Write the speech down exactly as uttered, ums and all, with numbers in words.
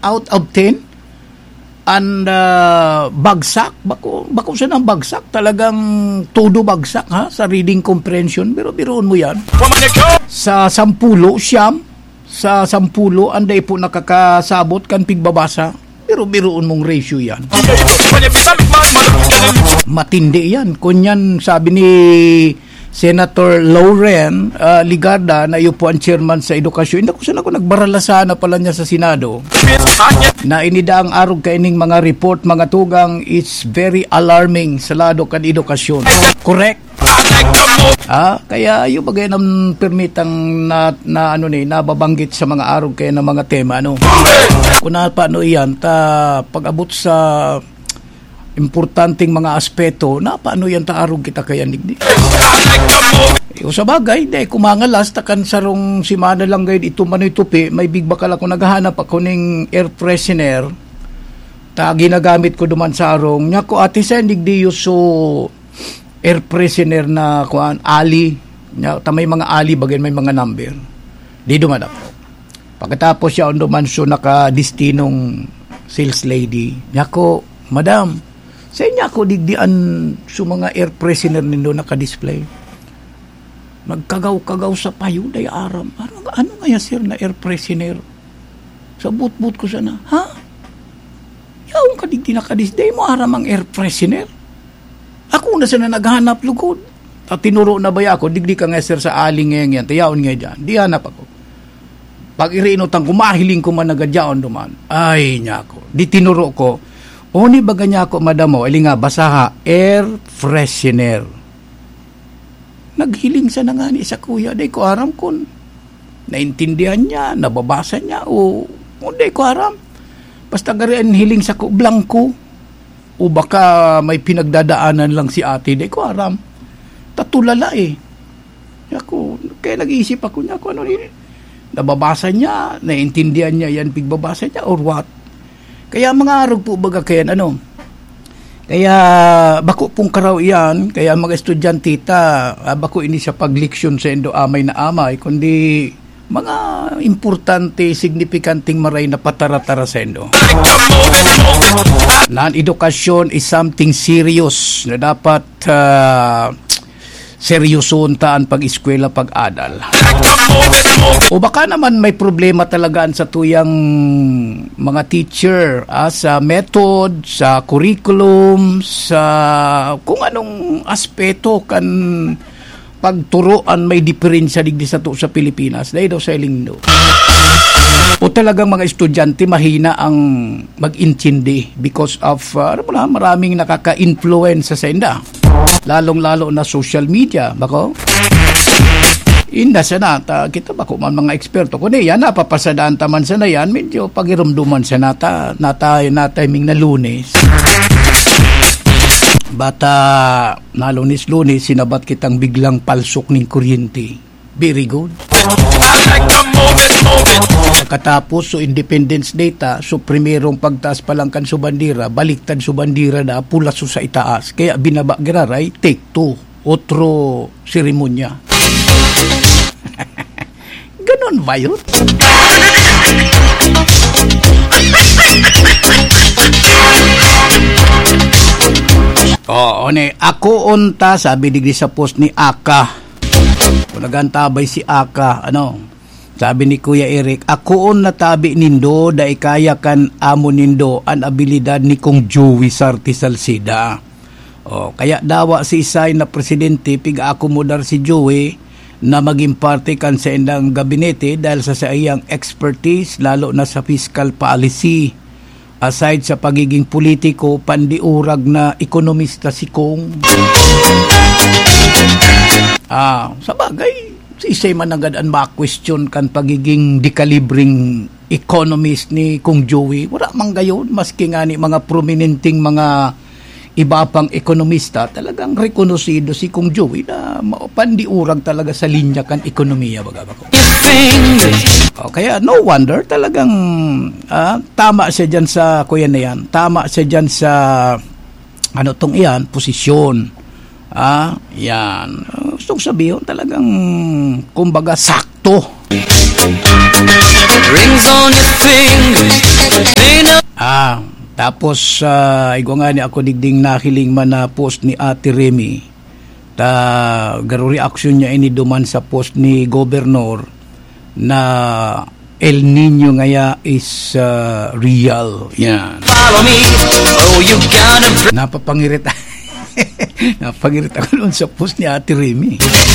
out of ten, and, ah, bagsak, bako, bako siya ng bagsak, talagang todo bagsak, ha, sa reading comprehension, pero biruon mo yan. Sa sampulo, siyam, sa sampulo, ang dai po nakakasabot kan pigbabasa, pero biruon mong ratio yan. Matindi yan. Kunyan, sabi ni Senator Loren, ah, Legarda, na iyo po ang chairman sa edukasyon. Hindi ko sana ako nagbaralasahan na pala niya sa Senado na inida ang arog kaining mga report, mga tugang, it's very alarming sa lado kan edukasyon. Correct? Ah, kaya iyo bagay nang permitang na, na ano ni, nababanggit sa mga arog kaya ng mga tema, ano. Kung na paano iyan, ta pag-abot sa importanteng mga aspeto, na paano yan ta arog kita kaya, digdi? Eh, o sa bagay, di, kumangalas, ta kan sarong semana lang gayud ito manoy tupi, may bigbakal ako, naghahanap ako ning air freshener, ta ginagamit ko duman sa arong. Niya ko, ati sa digdi, so, air freshener na, kuan, ali. Niya, ta may mga ali, bagay, may mga number. Di duman ako. Pagkatapos siya, on duman, so, nakadestinong sales lady. Niya ko, "Madam, sa inyo ako digdian sa mga air freshener nindo nakadisplay?" Nagkagaw-kagaw sa payo, day aram. "Ano, ano ngaya, sir, na air freshener?" Sa butbut ko sana, "Ha? Yaon ka digdi nakadis-, day mo aram ang air freshener?" Ako na sana naghanap lugod. Ta tinuro na baya ako, "Digdi ka nga, sir, sa aling ngayon yan. Tayaon nga dyan." Di hanap ako. Pag irinutan ko, mahiling ko man nagadyaon duman. Ay, niya ako. Di tinuro ko, "O, ni baga niya ako, madam, o, ili nga, basaha, air freshener." Naghiling sana ngani sa kuya, di ko aram kun naintindihan niya, nababasa niya, o, o di ko aram. Basta gari ang hiling sako, blangko. O baka may pinagdadaanan lang si ate, di ko aram. Tatulala eh. Ako, kaya nag-iisip ako niya kung ano ni, nababasa niya, naiintindihan niya yan, pigbabasa niya, or what? Kaya mga arog po baga kayan, ano? Kaya bako pong karaw iyan, kaya mga estudyante ta, ah, bako ini sa pagleksyon sa indo amay na amay, kundi mga importante, signipikanteng maray na patara-tara sa indo. Nan edukasyon is something serious na dapat, ah, seryosoon ta an pag-eskwela, pag-adal. O baka naman may problema talaga an satuyang mga teacher, ah, sa method, sa curriculum, sa kung anong aspeto kan pagturo an may diferensya digdi sato sa Pilipinas, dai daw sa ilindo. O talagang mga estudyante mahina ang mag-intindi because of, ah, alam mo na, maraming nakaka-influence sa inda. Lalong-lalo na social media, bako? Inda sana, ta, kita bako man mga eksperto. Kundi yan, napapasadaan ta man sana yan, medyo pagirumduman sana ta, natay, natay ming na Lunes. Bata, na Lunes-Lunes, sinabat kitang biglang palsok ning kuryente. Very good. Pagkatapos, so Independence Day ta, so primerong pagtaas pa lang kan so bandera, baliktad so bandera na pula so sa itaas. Kaya binaba giraray, take two. Otro seremonya. Ganon ba yun? Oo, ne. Akoon ta, sabi digdi sa post ni Aka. Kung nagantabay si Aka, ano? Sabi ni Kuya Eric, "Akoon na tabi nindo, dai kaya kan amo nindo an abilidad ni Kong Joey Sarte Salceda." Oh, kaya dawa si isay na presidente, pig-aakomodar si Joey na magin parte kan saindang gabinete dahil sa saiyang expertise, lalo na sa fiscal policy. Aside sa pagiging politiko, pandiurag na ekonomista si Kong. Ah, sa bagay, si isay man nanggad an ma-question kan pagiging dekalibreng economist ni Kong Joey. Wala man gayon, maski nga ni mga prominenteng mga iba pang ekonomista, talagang rekonosido si Kong Joey na ma-, pandiurag talaga sa linya kan ekonomiya, baga ba ko? O, kaya no wonder talagang, ah, tama siya dyan sa, kuya na yan, tama siya dyan sa, ano tong iyan, posisyon. Ah, yan. Gusto ko sabihin, talagang, kumbaga, sakto. Rings on your fingers, Apos, ah, igwa nga ni ako digding nahiling man na post ni Ate Remy. Ta, garo reaksyon niya ini duman sa post ni Gobernador na El Niño ngaya is, ah, real. Yan. Follow me. Oh, you gotta br- Napapangirit. Napangirit ako noon sa post ni Ate Remy.